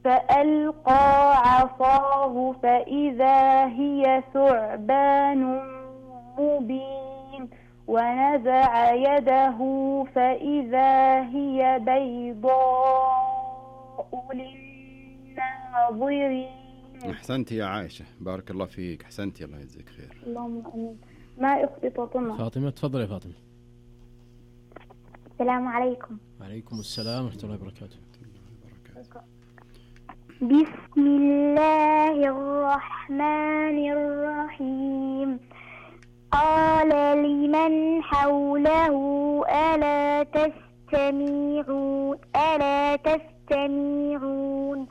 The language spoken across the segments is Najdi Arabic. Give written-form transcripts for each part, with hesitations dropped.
فألقى عصاه فإذا هي ثعبان مبين ونزع يده فإذا هي بيضاء للناظرين. أحسنتي يا عائشة، بارك الله فيك، أحسنتي، الله يجزيك خير. اللهم آمين. ما أختي فاطمة تفضل يا فاطمة. السلام عليكم. وعليكم السلام ورحمة الله وبركاته. بسم الله الرحمن الرحيم. قال لمن حوله ألا تستمعون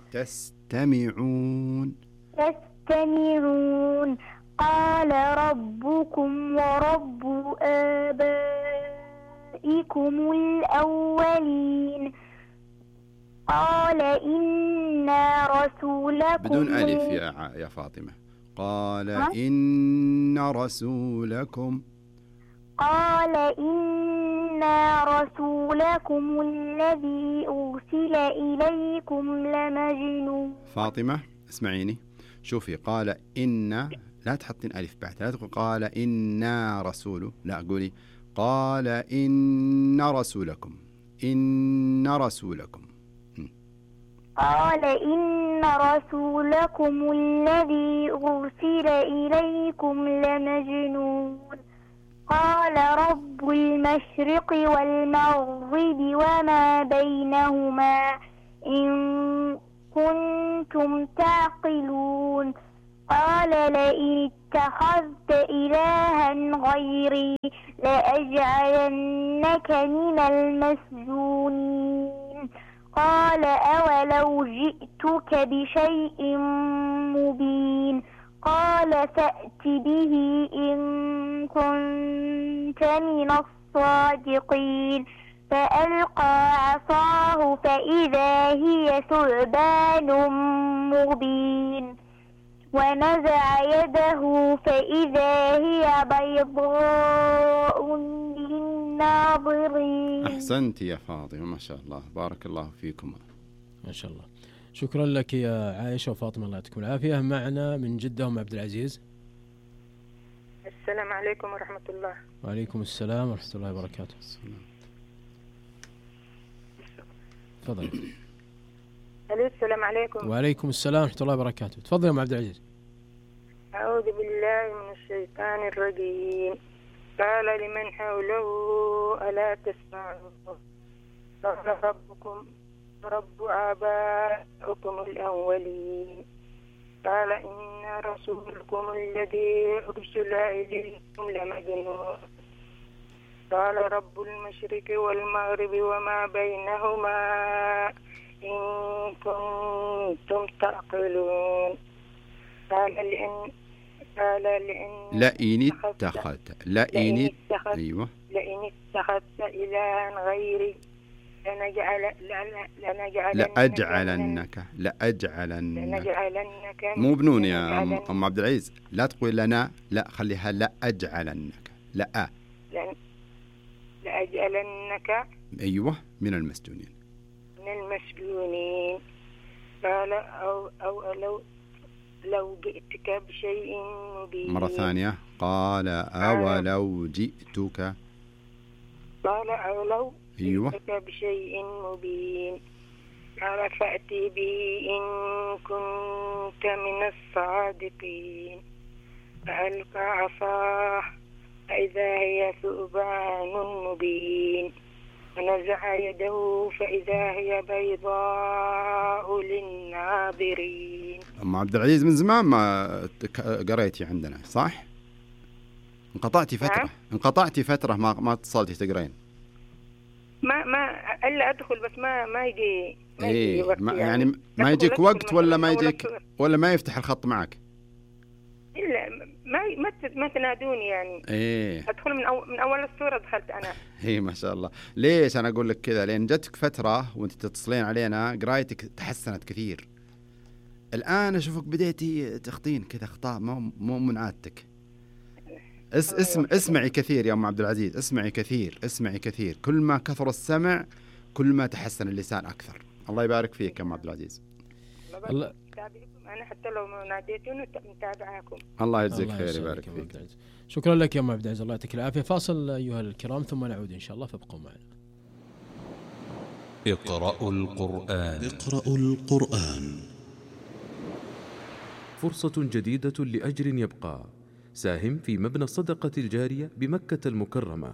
تستمعون قال ربكم ورب آبائكم الأولين قال إن رسولكم بدون ألف يا فاطمة. قال إن رسولكم الذي أرسل إليكم لمجنون. فاطمة اسمعيني، شوفي، قال إن، لا تحطين ألف بعد، لا تقول قال إنا رسول، لا قولي قال إن رسولكم. قال إن رسولكم الذي أرسل إليكم لمجنون. قال رب المشرق والمغرب وما بينهما إن كنتم تعقلون. قال لئن اتخذت إلها غيري لأجعلنك من المسجونين. قال أولو جئتك بشيء مبين. قال فأت به إن كنت من الصادقين. فألقى عصاه فإذا هي ثعبان مبين ونزع يده فإذا هي بيضاء للناظرين. أحسنت يا فاطمة، ما شاء الله، بارك الله فيكم. ما شاء الله، شكرا لك يا عائشة وفاطمة، الله يعطيكم العافية. معنا من جدة أم عبد العزيز. السلام عليكم ورحمة الله. وعليكم السلام ورحمة الله وبركاته. تفضل. السلام عليكم. وعليكم السلام ورحمة الله وبركاته. تفضل يا أم عبد العزيز. أعوذ بالله من الشيطان الرجيم. قال لمن حوله ألا تسمعون قال ربكم رب آبائكم الأولين. قال إن رسولكم الذي أرسل إليكم لمجنون. قال رب المشرق والمغرب وما بينهما إن كنتم تعقلون. قال لئن اتخذت أيوة اتخذت إلها غيري لأجعلنك مو بنون يا أم عبد العزيز، لا تقول لنا، لا خليها لأجعلنك، لأجعلنك أيوة من المسجونين. قال أو لو جئتك بشيء مبين. مرة ثانية، قال أولو جئتك. قال أولو أيوة. جئتك بشيء مبين. قال فأتي به إن كنت من الصادقين. فألقى عصاه فإذا هي ثعبان مبين ونزع يده فإذا هي بيضاء للناظرين. أم عبد العزيز من زمان ما قريتي عندنا صح؟ انقطعتي فترة ما اتصلتي تقرين. ما إلا أدخل بس ما يجي وقت يعني ما يجيك وقت ولا ما يفتح الخط معك؟ إلا ما تنادوني يعني. أدخل من أول السورة دخلت أنا. ما شاء الله. ليش أنا أقول لك كذا؟ لأن جتك فترة وأنت تتصلين علينا قرايتك تحسنت كثير. الآن أشوفك بديتي تخطين كذا أخطاء مو من عادتك. اسمعي كثير يا أم عبد العزيز، اسمعي كثير. كل ما كثر السمع كل ما تحسن اللسان أكثر. الله يبارك فيك يا أم عبد العزيز. الله تابعكم أنا حتى لو ما ناديتوني متابعاكم. الله يجزيك خير يبارك فيك. شكرا لك يا أم عبد العزيز، الله يعطيك العافية. فاصل أيها الكرام ثم نعود إن شاء الله، فابقوا معنا. اقرأوا القرآن. اقرأوا القرآن. فرصة جديدة لأجر يبقى. ساهم في مبنى الصدقة الجارية بمكة المكرمة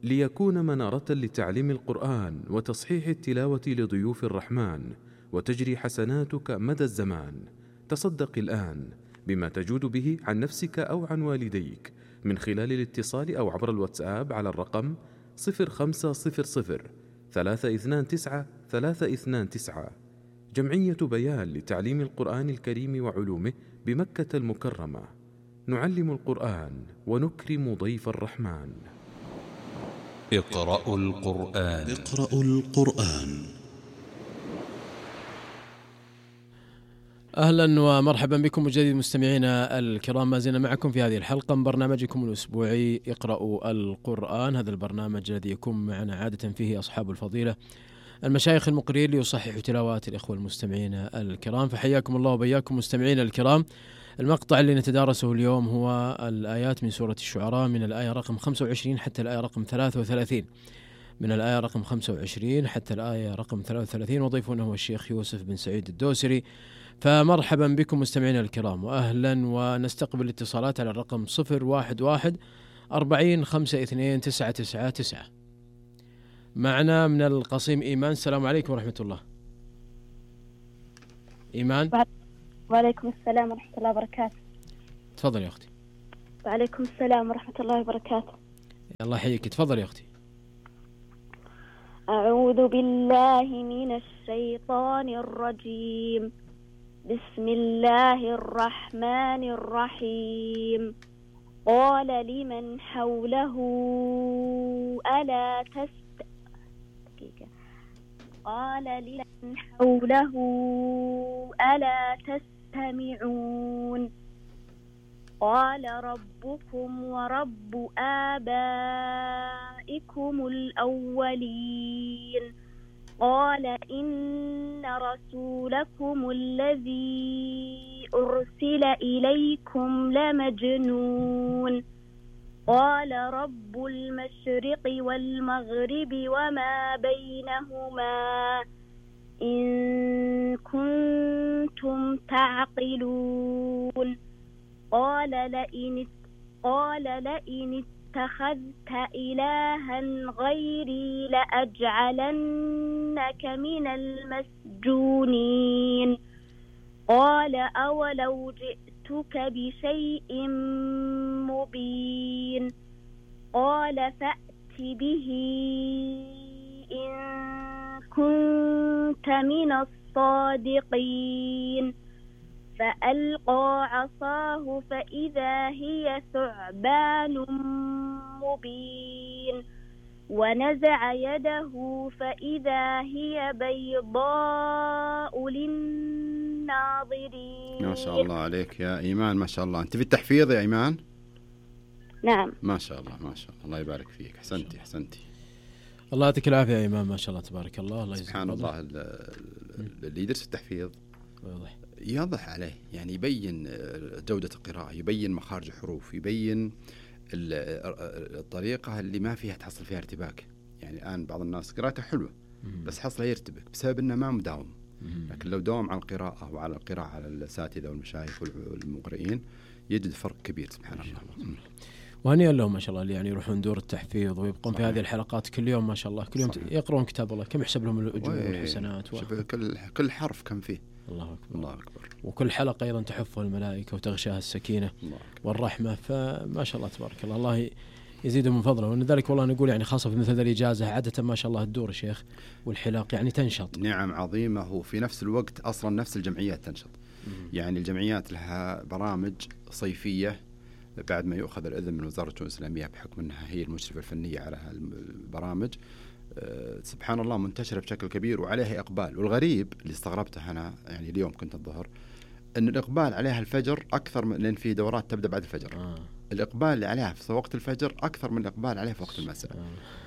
ليكون منارة لتعليم القرآن وتصحيح التلاوة لضيوف الرحمن، وتجري حسناتك مدى الزمان. تصدق الآن بما تجود به عن نفسك أو عن والديك من خلال الاتصال أو عبر الواتساب على الرقم 0500 329 329. جمعية بيان لتعليم القرآن الكريم وعلومه بمكة المكرمة. نعلم القرآن ونكرم ضيف الرحمن. اقرأوا القرآن. اقرأوا القرآن. أهلا ومرحبا بكم مجدد مستمعينا الكرام، ما زلنا معكم في هذه الحلقة من برنامجكم الأسبوعي اقرأوا القرآن. هذا البرنامج الذي يكون معنا عادة فيه أصحاب الفضيلة المشايخ المقرئين ليصححوا تلاوات الإخوة المستمعين الكرام. فحياكم الله وبياكم مستمعينا الكرام. المقطع اللي نتدارسه اليوم هو الآيات من سورة الشعراء من الآية رقم 25 حتى الآية رقم 33. من الآية رقم 25 حتى الآية رقم 33، وضيفنا هو الشيخ يوسف بن سعيد الدوسري. فمرحبا بكم مستمعينا الكرام وأهلا، ونستقبل اتصالات على الرقم 011 40 52 999. معنا من القصيم إيمان. السلام عليكم ورحمة الله. إيمان. وعليكم السلام ورحمة الله وبركاته. تفضل يا أختي. وعليكم السلام ورحمة الله وبركاته. الله يحييك، تفضل يا أختي. أعوذ بالله من الشيطان الرجيم. بسم الله الرحمن الرحيم. قال لمن حوله ألا قال لمن حوله ألا تستمعون. قال ربكم ورب آبائكم الأولين. قال إن رسولكم الذي أرسل إليكم لمجنون. قال رب المشرق والمغرب وما بينهما إن كنتم تعقلون. قال لئن اتخذت إلها غيري لأجعلنك من المسجونين. قال أولو جئتك بشيء مبين. قال فأت به إن كنت من الصادقين. فألقى عصاه فإذا هي ثعبان مبين. ونزع يده فإذا هي بيضاء للناظرين. ما شاء الله عليك يا إيمان، ما شاء الله. أنت في التحفيظ يا إيمان؟ نعم. ما شاء الله ما شاء الله، الله يبارك فيك. أحسنتي. الله يعطيك العافية يا إيمان، ما شاء الله تبارك الله. الله سبحان الله. اللي يدرس التحفيظ يضح عليه، يعني يبين جودة القراءة، يبين مخارج الحروف، يبين الطريقة اللي ما فيها تحصل فيها ارتباك. يعني الآن بعض الناس قراءته حلوة بس حصله يرتبك بسبب أنه ما مداوم. لكن لو داوم على القراءة وعلى القراءة على الأساتذة والمشايخ والمقرئين يجد فرق كبير سبحان الله. وهنيئا لهم ما شاء الله اللي يعني يروحون دور التحفيظ ويبقون في هذه الحلقات كل يوم ما شاء الله، كل يوم يقرؤون كتاب الله. كم يحسب لهم الأجور والحسنات كل حرف كم فيه. الله أكبر. الله أكبر. وكل حلقة أيضا تحفها الملائكة وتغشاها السكينة والرحمة. فما شاء الله تبارك الله، الله يزيد من فضله. ولذلك والله نقول يعني خاصة في مثل الإجازة عادة ما شاء الله الدور الشيخ والحلاق يعني تنشط. نعم عظيمة. وفي نفس الوقت أصلا نفس الجمعيات تنشط. يعني الجمعيات لها برامج صيفية بعد ما يؤخذ الإذن من وزارة الشؤون الإسلامية بحكم أنها هي المشرفة الفنية على البرامج. سبحان الله منتشرة بشكل كبير وعليها إقبال. والغريب اللي استغربته أنا يعني اليوم كنت الظهر أن الإقبال عليها الفجر أكثر من، لأن في دورات تبدأ بعد الفجر. الإقبال اللي عليها في وقت الفجر أكثر من الإقبال عليها في وقت المساء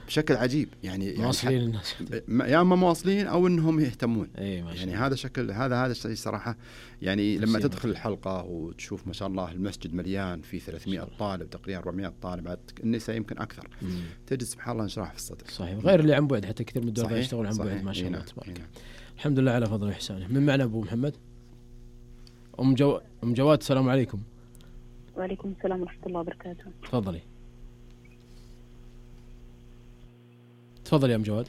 بشكل عجيب. يعني مواصلين الناس يا اما مواصلين او انهم يهتمون. يعني هذا شكل هذا الشيء صراحه. يعني لما تدخل الحلقه وتشوف ما شاء الله المسجد مليان في 300 طالب تقريبا 400 طالب، النساء يمكن اكثر، تجد سبحان الله انشراح في الصدر. صحيح. غير اللي عن بعد، حتى كثير من الدول يشتغلون عن بعد ما شاء الله تبارك. الحمد لله على فضل وإحسانه. من معنا ابو محمد؟ ام جواد السلام عليكم. وعليكم السلام ورحمه الله وبركاته. تفضلي تفضل يا أم جواد.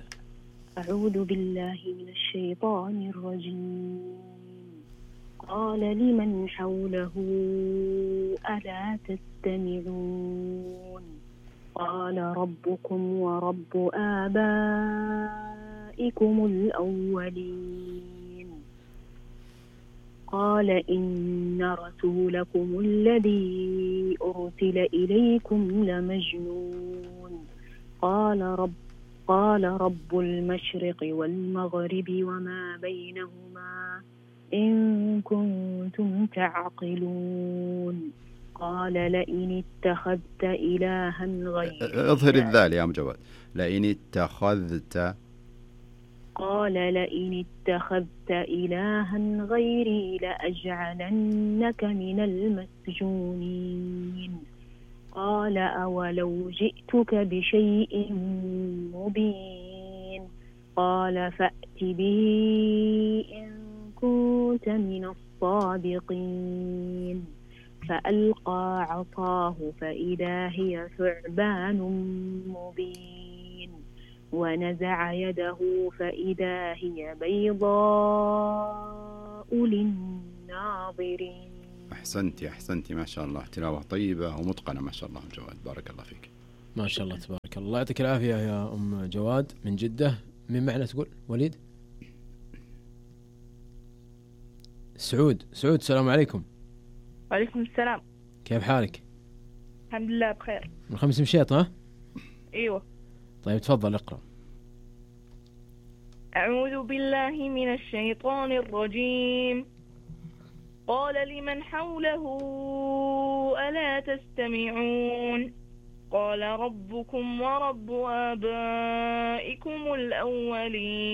أعوذ بالله من الشيطان الرجيم. قال لمن حوله ألا تستمعون قال ربكم ورب آبائكم الأولين. قال إن رسولكم الذي أرسل إليكم لمجنون. قال رب المشرق والمغرب وما بينهما إن كنتم تعقلون. قال لئن اتخذت إلها غيري. اظهر الذال يا أم جواد. لئن اتخذت. قال لئن اتخذت إلها غيري لأجعلنك من المسجونين. قال أولو جئتك بشيء مبين. قال فأت به إن كنت من الصادقين. فألقى عصاه فإذا هي ثعبان مبين. ونزع يده فإذا هي بيضاء للناظرين. أحسنتي ما شاء الله، تلاوة طيبة ومتقنة ما شاء الله. جواد بارك الله فيك. ما شاء الله تبارك الله. يعطيك العافية يا أم جواد من جدة. من معنا تقول؟ وليد؟ سعود السلام عليكم. وعليكم السلام. كيف حالك؟ الحمد لله بخير. من 5 مشيط ها؟ ايوه. طيب تفضل اقرأ. أعوذ بالله من الشيطان الرجيم. قال لمن حوله ألا تستمعون قال ربكم ورب آبائكم الأولين.